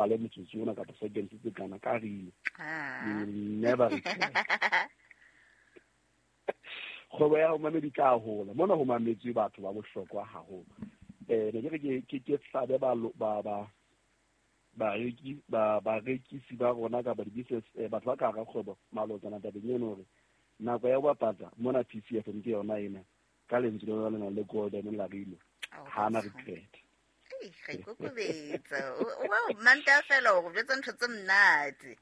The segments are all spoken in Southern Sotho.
Bapale motsotso ona kapa seconds tse kana ka rilo. You will never regret. Kgwebo ya hao, mamedi, tla hola. Mona ho mametswe batho ba bohlokwa haholo. Ne ke re ke hlabe ba ba ba bareki ba barekisi ba rona kapa di-business, batho ba ka hara kgwebo malotsana tabeng eno, hore nako ya ho bapatsa mona PCFM ke yona ena, ka lentswe lena le nang le golden la rilo. Oh, ha na that's regret. Ei, ga ikokobetsa. Wa manta fela o go jwetsa ntho tse monate.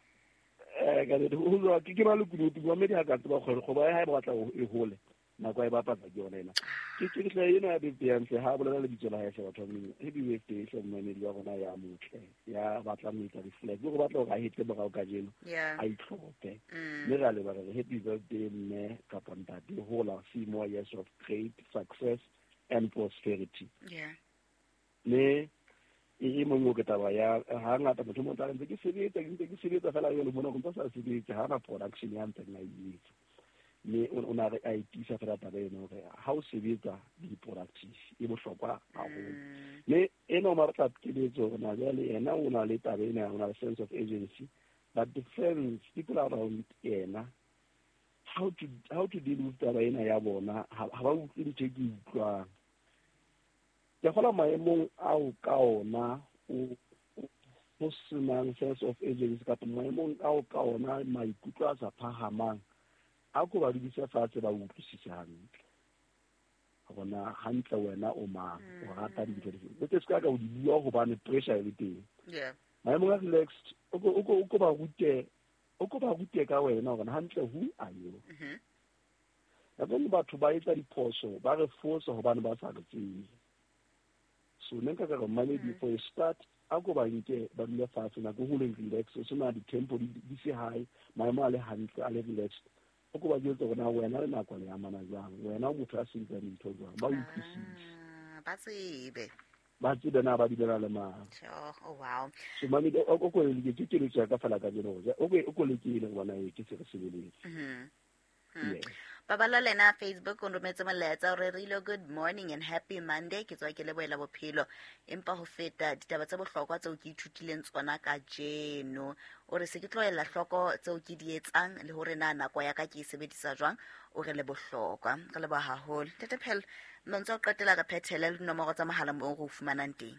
Ka nnete, ho jwang, ke ba lekunutu. Mamedi ha ka tseba kgwebo, kgwebo ya hae ba batla e hole, nako ya e bapatsa ke yona ena. Ke hle ena ya birthday hantle ha bolela lebitso la hae hle, batho ba Modimo. Happy birthday hle, momamedi wa rona ya motle ya batlang ho etsa reflect, o batla hore a hetle morao kajeno, a itlhophe. Mme re a leboha, re re happy birthday, mme kapa ntate. Hola, see more years of great success and prosperity. Mme e mongwe ke taba ya ha ngata motho mo tla ntse ke sebetsa, ke ntse ke sebetsa fela jalo, mona go ntse sa sebetse, ha na production ya ntseng a e etsa. Mme o na re a e tiisa fela taba eno hore ha o sebetsa, be productive, e bohlokwa haholo. Mme ena o batla keletso hore na jwale yena o na le taba ena, o na le sense of agency, but the friends, people around yena, how to deal with taba ena ya bona, ha ba utlwe ntho e ke e utlwang. Ke kgola maemong ao ka ona o ho senang sense of agency, kapa maemong ao ka ona maikutlo a sa phahamang, a ko ba dudise fatshe, ba utlwisise hantle hore na hantle wena o mang, o rata dintho dife. O se ka o di bua hobane pressure e le teng. Maemong a relaxed, o ko ba rute, o ko ba rute ka wena hore hantle who are you. Nako batho ba etsa diphoso, ba re fosa hobane ba sa re tsebe. So ne nka ka re, mamedi, for a start, a ko ba nke ba dule fatshe nako ho leng relax, o sena di-tempo di se high, maemo a le hantle, a le relaxed, o ko ba jwetse hore na wena le nako le amana jwang, wena o motho a sebetsang dintho jwang, ba utlwisise. Ah, ba tsebe. Ba tsebe na ba dulela le mang. Sure. Oh, wow. So mamedi, o ko leke, ke keletso ya ka fela ka jeno, hore o ko lekele go bona e ke se re sebeletse. Yes. Babala lena Facebook o rometse molaetsa o rerile, "Good morning and happy Monday. Ke tswa ke lebohela bophelo, empa ho feta ditaba tse bohlokwa tseo ke ithutileng tsona kajeno." O re se ke tlohella hloko tseo ke di etsang le hore na nako ya ka ke e sebedisa jwang. O re le bohlokwa, re leboha haholo, Ntate Phelo. Mantswe a ho qetela, re phethele le dinomoro tsa mohala moo re o fumanang teng.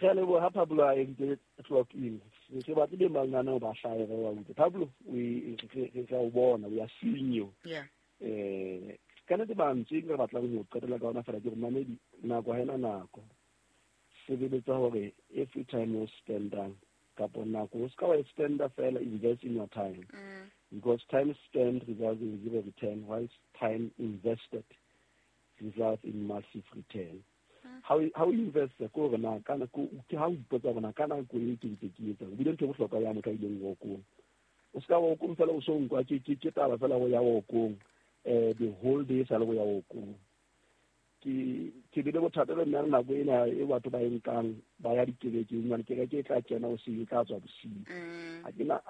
Re a leboha, Pablo. A entse clock in, re batle be mananeo ba hlahe, re wa utlwe, Pablo. Re a o bona, we are seeing you. Ka nnete, mantswe ke re batlang ho qetela ka ona fela ke gore, mamedi, nako ha ena nako. Sebeletsa hore every time o spendang kapa nako, o ska wa e spenda fela, invest in your time, because time spent results in zero return, whilst time invested results in massive return. Ha o invest, ko hore na kana ke ha o ipotsa hore na ka nako e ke ntse ke etsa, o bile ntho e bohlokwa ya motho a ileng workong. O ska workong fela, o so nkwa ke taba fela go ya workong, the whole day sa le go ya workong. Ke bile bothata le nna nako ena e batho ba e nkang ba ya dikerekeng, jwale kereke e tla kena o e tla tswa bosiu. Ha ke na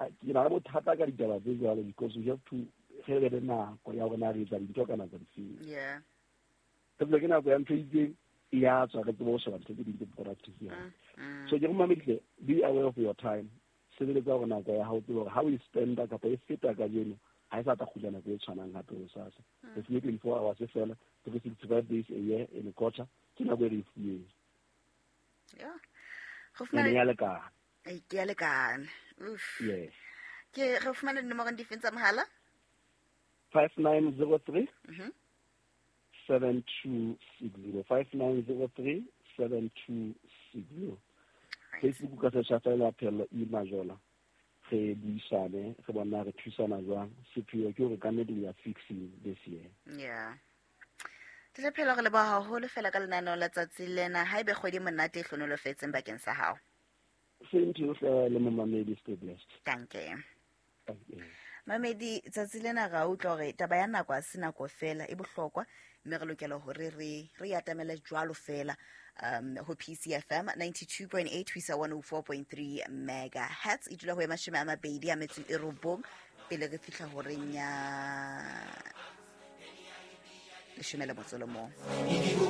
le bothata ka ditaba tse jwalo, because we have to re be le nako ya hore na re etsa dintho ka nako difeng. Re tsebe ke nako ya ntho e itseng e ya tswa, re tsebe ho sheba ntho tse ding tse productive ya. So ke re, mamedile, be aware of your time. Sebeletsa hore nako ya hao, tsebe hore ha o e spenda kapa e feta kajeno, ha e sa tla kgutla nako e tshwanang hape hosasa. Re fuwe 24 hours fela, 365 days a year in a quarter, ke nako e re e fuweng. Go ene fumana ya lekana. Ei, ke ya lekana. Uff. Yes. Ke re fumana dinomorong difeng tsa mohala? 5903 7260, 5903 7260. Facebook ka searcha fela Phello E Majola, re buisane, re bona re thusana jwang. Sepheo ke hore ka nnete we are fixing this year. Yeah, Tlele Phelo, re leboha haholo fela ka lenaneo la tsatsi lena. Ha ebe kgwedi e monate e hlonolofetseng bakeng sa hao. Same to you hle, le momamedi, stay blessed. Danke. Thank you. Mamedi, tsatsi lena ra utlwa hore taba ya nako a se nako fela e bohlokwa, mme re lokela hore re atamele jwalo fela ho PCFM 92.8 ho isa 104.3 megahertz, e dula ho e 29 pele re fihla horeng ya 11.